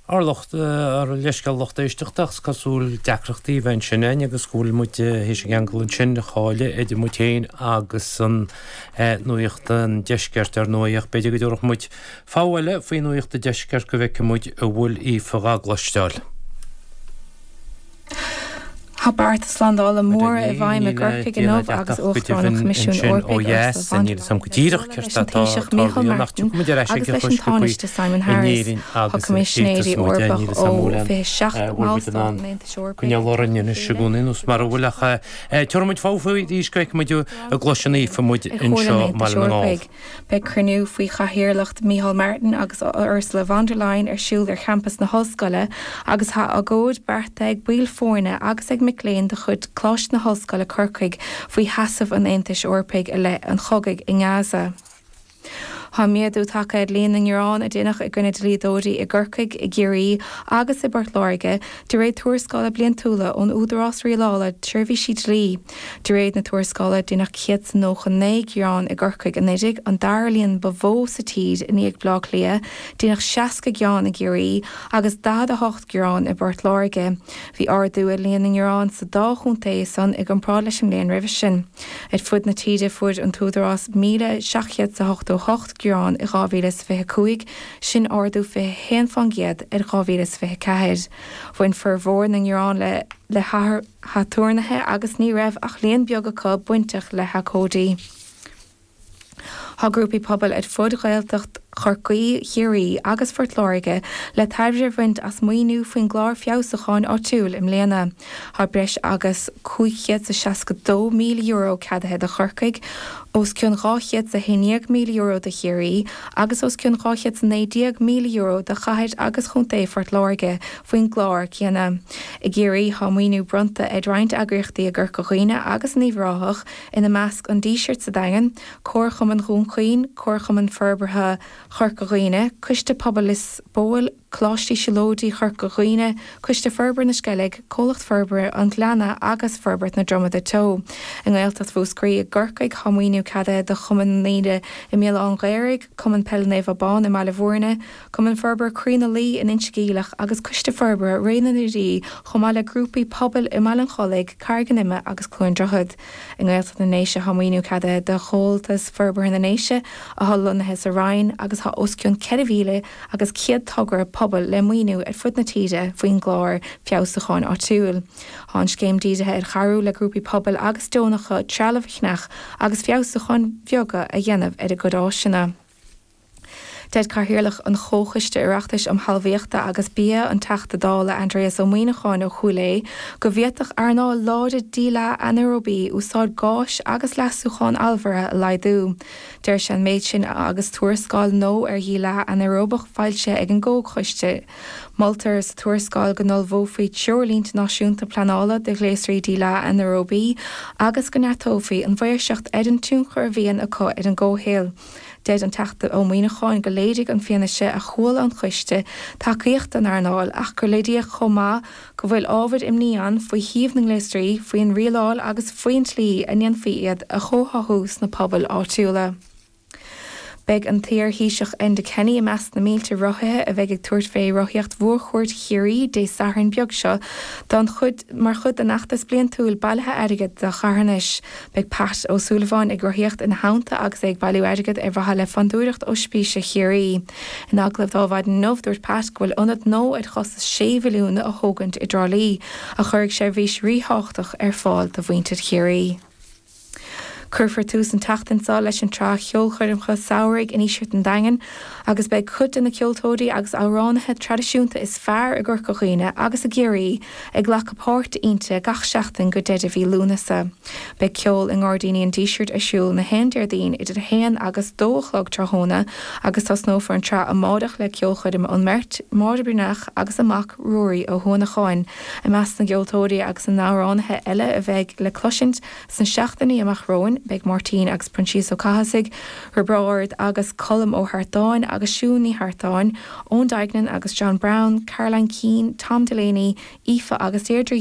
Ár lucht, ár leithscéal lucht éisteachta ach is cosúil deacrachtaí a bheith ansin againn agus go bhfuil muid théis an ceangal ansin a chailleadh idir muid féin agus an Nuacht an Deiscirt ar ndóigh ach b'fhéidir go dtabharfadh muid fogha eile faoi Nuacht an Deiscirt go bhfeicfidh muid an bhfuil Aoife dhá gcloisteáil. Tá bearta slándála móra i bhfeidhm i gCorcaigh inniu agus Uachtarán an Choimisiúin Eorpaigh Ursula von der Leyen ag bualadh leis an Taoiseach Micheál Martin agus leis an Tánaiste Simon Harris. Tá Coimisinéirí Eorpach ó 27 mBallstát an Aontais Eorpaigh ag Comhairle an Aontais Eorpaigh. Beidh cruinniú faoi chathaoirleacht Micheál Martin agus Ursula von der Leyen ar siúl ar champas na hOllscoile agus tá agóid beartaithe ag baill foirne agus ag mic léinn de chuid Choláiste na hOllscoile Corcaigh faoi sheasamh an Aontais Eorpaigh i leith an chogaidh i nGaza. Tá méadú tagtha ar líon na ngearán a deineadh i gcoinne dlíodóirí i gCorcaigh, i gCiarraí agus i bPort Láirge, de réir tuarascála bliantúla ón Údarás Rialála Seirbhísí Dlí. De réir na tuarascála, deineadh 199 gearán i gCorcaigh anuraidh, an dara líon ba mhó sa tír i ndiaidh Bleá Cliath, deineadh 60 gearán i gCiarraí agus 48 gearán i bPort Láirge. Bhí ardú ar líon na ngearán sa dá chontae san i gcomparáid leis an mbliain roimhe sin. Ar fud na tíre fuair an tÚdarás 1,788 gearán i 2025, sin ardú 21% ar 2024. Bhain formhór na ngearán le le haturnaetha agus ní raibh ach líon beag acu bainteach le habhcóidí. Tá grúpaí pobail ar fud Ghaeltacht Chorcaí, Chiarraí agus Phort Láirge le tairbhe a bhaint as maoiniú faoin gClár Feabhsúcháin Áitiúil i mbliana. Tá breis agus €562,000 ceadaithe do Chorcaigh, os cionn €211,000 do Chiarraí agus os cionn €219,000 do Chathair agus Chontae Phort Láirge faoin gclár céanna. I gCiarraí, tá maoiniú bronnta ar roinnt eagraíochtaí i gCorca Dhuibhne agus in Uíbh Ráthach, ina measc An Díseart sa Daingean, Comharchumann Dhún Chaoin, Comharchumann Forbartha Chorca Dhuibhne, Coiste Pobail Lios Póil, Coláiste Siúlóidí Chorca Dhuibhne, Coiste Forbartha na Sceilg, Comhlacht Forbartha an Ghleanna agus Forbairt na Dromada Teo. I nGaeltacht Mhúscraí i gCorcaigh, tá maoiniú ceadaithe do Chumann na nDaoine i mBéal Átha'n Ghaorthaidh, Cumann Peile Naomh Abán i mBaile Bhúirne, Cumann Forbartha Croí na Laoi in Inse Geimhleach agus Coiste Forbartha Ré na nDoirí chomh maith le grúpaí pobail i mBaile an Chollaigh, Carraig an Ime agus Cluain Droichead. I nGaeltacht na nDéise tá maoiniú ceadaithe do Chomhaltas Forbartha na nDéise atá lonnaithe sa Rinn agus tá os cionn 4,000 agus 100 togra pobail le maoiniú ar fud na tíre faoin gClár Feabhsúcháin Áitiúil. Tá an scéim dírithe ar chabhrú le grúpaí pobail agus deonacha trealamh a cheannach agus feabhsúcháin bheaga a dhéanamh ar a gcuid áiseanna. Deir Cathaoirleach an Chomhchoiste Oireachtais um Thalmhaíochta agus Bia, an Teachta Dála Aindrias Ó Muíneacháin ó Chúil Aodha, go bhféadfadh earnáil láidir díleá anaeróbaí úsáid gáis agus leasúchán allmhairithe a laghdú. Deir sé an méid sin agus tuarascáil nua ar dhíleá anaeróbach foilsithe ag an gComhchoiste. Moltar sa tuarascáil go n-ullmhófaí treoirlínte náisiúnta pleanála do ghléasraí díleá anaeróbaí agus go neartófaí an mhaoirseacht ar an tionchar a bhíonn acu ar an gcomhshaol. Deir an Teachta Ó Muíneacháin go léirigh an fianaise a chuala an coiste tacaíocht don earnáil ach gur léiríodh chomh maith go bhfuil ábhair imní ann faoi shuíomh na ngléasraí, faoin rialáil agus faoin tslí a ndéanfaí iad a chomhtháthú sna pobail áitiúla. Beidh an t-iar-Thaoiseach Enda Kenny i measc na mílte rothaithe a bheidh ag tabhairt fé Rothaíocht Mhórchuaird Chiarraí Dé Sathairn beag seo don chuid mar chuid den fheachtas bliantúil bailithe airgid do charthanais. Beidh Pat Ó Súilleabháin ag rothaíocht ina theannta agus é ag bailiú airgid ar mhaithe le Fondúireacht Oispíse Chiarraí. In agallamh dó ar maidin inniu, dúirt Pat go bhfuil ionad nua ar chostas sé mhilliún á thógaint i dTrá Lí, a chuirfidh seirbhís ríthábhachtach ar fáil do mhuintir Chiarraí. Cuirfear tús an tseachtain seo leis an tsraith cheolchoirmeacha samhraidh i nDíseart an Daingin agus beidh cuid de na ceoltóirí agus amhránaithe traidisiúnta is fearr i gCorca Dhuibhne agus i gCiarraí ag glacadh páirte inti gach seachtain go deireadh mhí Lúnasa. Beidh ceol i nGairdíní an Dísirt ar siúl na haon Déardaoin idir 1 agus 2 a chlog tráthnóna agus tosnófar an tsraith amáireach le ceolchoirm ón mbeirt, Máire Breathnach agus a mac Ruairí Ó hUanacháin. I measc na gceoltóirí agus na n-amhránaithe eile a bheidh le cloisint sna seachtainí amach romhainn beidh Máirtín agus Proinsias Ó Cathasaigh, Roibeárd agus Colm Ó hArtáin agus Siún Ní hArtáin, Eoin Duignan agus John Browne, Caroline Keane, Tom Delaney, Aoife agus Deirdre.